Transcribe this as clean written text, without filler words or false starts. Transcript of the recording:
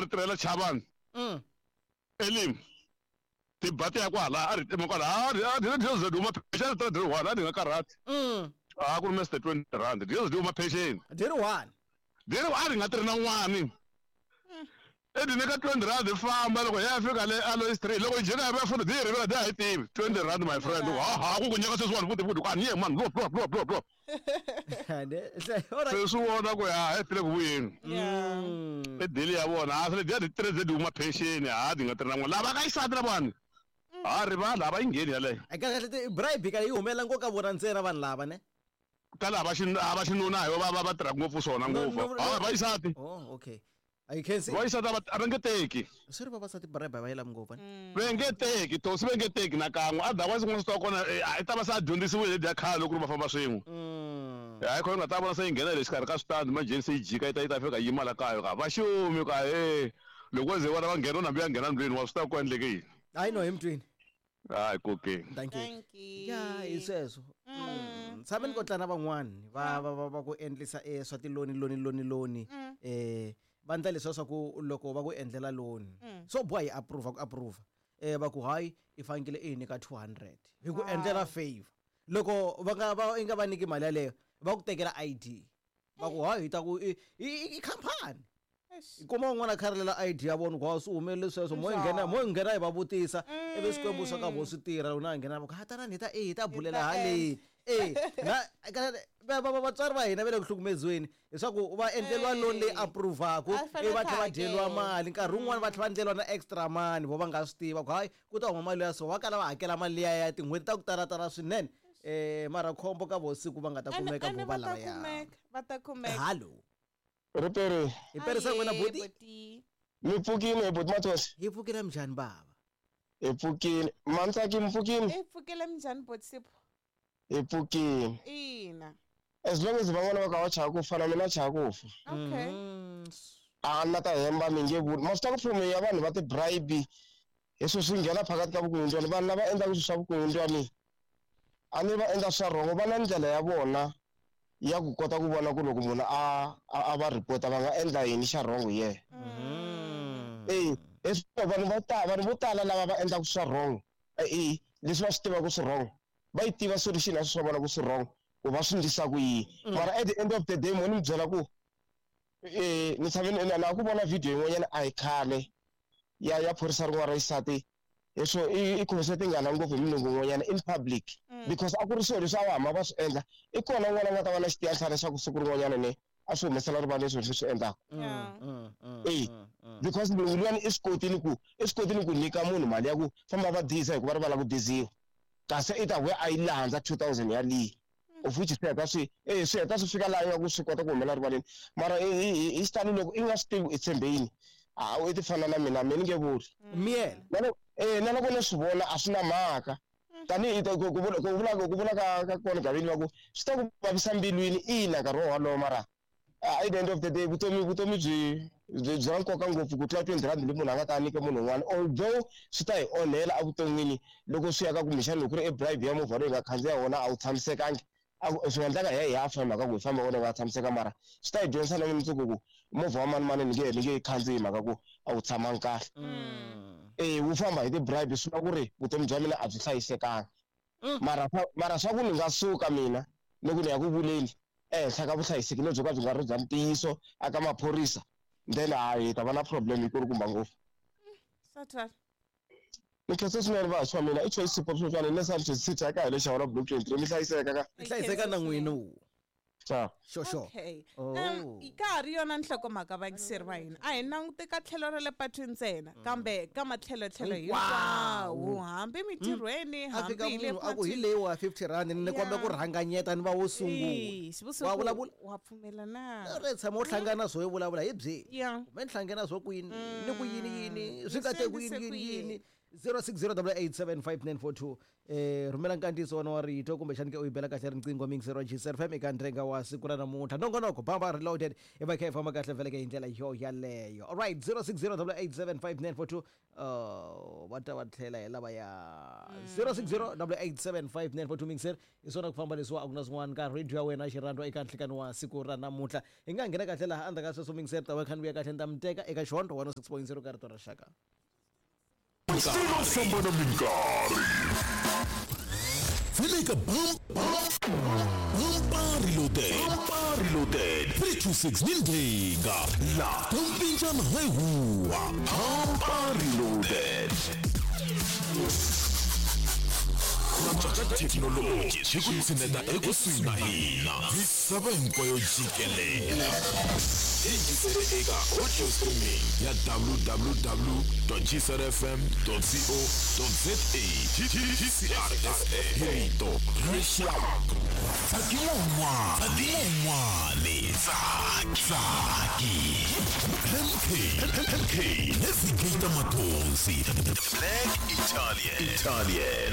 ri tirhela Chavani. Elim tiba ti ya kwala a ri tima kwala a ri a ri diesel huma phexeni ri tirha one a ni nga karhati. A ku ri Mr 20 rand diesel huma phexeni. Dyi ri one. Dyi ri a ri nga tirhi na n'wani. E di nyika 20 rand hi famba loko hi ya fika le Aloe Street loko hi jika hi vuya futhi di hi rivela di ha yi tivi 20 rand my friend ha ha ku ku nyika sweswiwani futhi futhi ku a ni ye mani lo lo lo lo lo se swi vona ku ya he tile ku vuyeni i dili ya vona a swi lediya ti tirhe di huma pension ha di nga tirhi na n'wana lava ka xisati lavawani ha rivala a va yi ngheni yaleyo kahle kahle bribe ka yi humelela ngopfu ka vona ntsena vanhu lava ne ka lava va xinuna hi va va va tirhaka ngopfu swona ngopfu ha va xisati oh okay a yi khensi va xisati a va nge teki swi ri vavasati bribe a va yi lavi ngopfu ne va nge teki tosi va nge teki nakan'we otherwise n'wana swi ta kona i ta va se a dyondzisiwile ledya khale loko ri va famba swin'we hayi khona nga ta vona se yi nghena le xikarhi ka switandi manjheni se yi jika yi ta yi ta fika yima la kaya ka va xumi ka he loko wo ze vona va nghena u nambe ya nghena ndlwini wa swi tiva ku endleke yini hayi no hi mutwini hayi kokeni thank you Thank you. Ya hi sweswo tshame ni kotla na van'wani va va va va ku endlisa swa tiloni loni loni loni va endla leswiya swa ku loko va ku endlela loni swo boha yi approve ku approve va ku hayi i fanekele i hi nyika 200 hi ku endlela favor loko va nga va i nga va nyiki mali yaleyo va ku tekela ID va ku hayi hi ta ku i khampani i kuma un'wana a kha rilela ID ya vona ku ha swi humelele sweswo mo nghena mo nghena hi va vutisa ivi swikwembu swa ka vo swi tirha loko na nghena va ku ha tanani hi ta e hi ta bulela haleni e na vatswari va hina va le ku hlukumeziweni leswaku va endleriwa loan leyi approvaku ivi va tlhela va dyeriwa mali nkarhi wun'wani va tlhela va endleriwa na extra money vo va nga swi tiva ku hayi ku ta huma mali ya so va kala va hakela mali liya ya tin'hweti ta ku talatala swinene mara khombo ka vo siku va nga ta kumeka vo va lavaya va ta kumeka hallo Ripere. Hi perisa n'wina buti. Mi pfukile hi buti Mathosi. Hi pfukile minjhani bava? Hi pfukile. Mantsaki mi pfukile? Hi pfukile minjhani buti Sipho? Hi pfukile. Ina. As long as van'wana va ka va chava ku fa na mina chava ku fa. Okay. A na ta hemba mi nge vuli. Ma swi tiva ku fomo ya vanhu va ti-bribe hi swilo swi nghena phakathi ka vukungundzwani vanhu lava endlaka swilo swa vukungundzwani a ni va endla swa rhongo va na ndlela ya vona ya ku kota ku vona ku loko munhu a a va report va nga endla yini xa wrong hi yena e vanhu vo tala vanhu vo tala lava va endlaka swa wrong e leswi va swi tivaka swi wrong va yi tiva solution ya swi swa vona ku swi wrong ku va swi ndlisa ku yini mara at the end of the day mo ni mi byela ku ni tshame na ku vona video yin'wanyana a hi khale ya ya phorisa rin'wana ra xisati leswo i khomise tingana ngopfu hi mulungu un'wanyana in public because a ku ri swilo leswi a va hamba va swi endla i kona un'wana a nga ta va na xitiyanhlana xa ku siku rin'wanyana ne a swi humesela rivaleni swilo leswi swi endlaka e because mulungu luyani i swi kotile ku i swi kotile ku nyika munhu mali ya ku famba va diza hikuva ri va lava ku diziwa kasi i ta vuya a yi landza 2000 ya liya of which swi heta swi e swi heta swi fika laha ingaku swi kota ku humela rivaleni mara hi xitalo loko i nga swi tivi i tshembe yini a i ti fana na mina mina ni nge vuli miyela e na loko ni swi vona a swi na mhaka tanihi ku vula ku vula ka ka kona gavini va ku swi ta ku vavisa mbilwini ina nkarhi wo wolowo mara at the end of the day vutomi vutomi byi byi byi na nkoka ngopfu ku tlula 20 rand leyi munhu a nga ta nyika munhu un'wana although swi ta hi onhela evuton'wini loko swi ya ka kumbexana loko ku ri e bribe ya movha loyi hi nga khandziya wona a wu tshamisekangi swi nga endleka hi ya hi ya fa hi mhaka ku hi famba wona wu nga tshamiseka mara swi ta hi dyondzisa na mundzuku ku movha wa mani mani ni nge ni nge khandziyi hi mhaka ku a wu tshamangi kahle e wu famba hi ti-bribe swi vula ku ri vutomi bya mina a byi hlayisekanga mara mara swa ku ni nga suka mina ni ku ni ya ku vuleni ehenhla ka vuhlayiseki lebyo ka byi nga ri bya ntiyiso aka maphorisa then hayi hi ta va na problem yikulukumba ngopfu Sathana. Ni khensa swinene vantshwa wa mina i Choice Sipho Mhlopane le Sandton City aka hi le Xawula Block 23 mi hlayiseka ka Mi hlayiseka na n'wina wu. Ciao. Xo xo. Okay. Oh. Ka ha ri yona nhlokomhaka vayingiseri va hina a hi languti ka tlhelo ra le patwini ntsena kambe ka matlhelotlhelo hinkwawo hambi mintirhweni A fika hambi hi le munhu a ku hi patwini. leyi wa 50 rand ni kombela ku rhanganyeta ni va wo sungula. Ee, xivuso Wa ku vulavula? wa pfumela na Ri tshama u hlangana swo yi vulavula hi byi. Yeah. Kumbe ni hlangana swo ku yini ni ku yini yini swi nga Ni te ku swi yini endlise yini ku yini. yini. 0608875942. Rhumela nkandziyiso wa wena wa rito kumbexani ke u yi bela kahle riqingho miyingiseri wa GCR FM eka ndrenga wa siku ra namuntlha. Nongonoko Bamba Reloaded i va kha yi famba kahle vhele ke hi ndlela yo yaleyo. Alright, 0608875942. Oh, va ta va tlhela hi lava ya 0608875942 miyingiseri hi swona ku famba leswiwa a ku na swin'wana ka radio ya wena xirhandwa eka nhlikani wa siku ra namuntlha. Hi nga nghena kahle laha endzhaku ka sweswo miyingiseri ta va kha ni vuya kahle ni ta mi teka eka xihondzo 106.0 ka rito ra rixaka. Swi famba na minkarhi. Vele ka Bumpa Reloaded. Bumpa Reloaded. 326 ni ndhinga. La Tompinjana hi huwa. Bumpa Reloaded. Ku antswa ka thekinoloji swi ku tshineta ekusuhi na hina. Misava hinkwayo jikelela. Yingisele eka audio streaming ya www.gcrfm.co.za. GCRFM hi rito ra rixaka. Tsaki wun'wana, tsaki wun'wani, tsaki, tsaki. MK, MK, Navigator Mathonsi. Black Italian, Italian.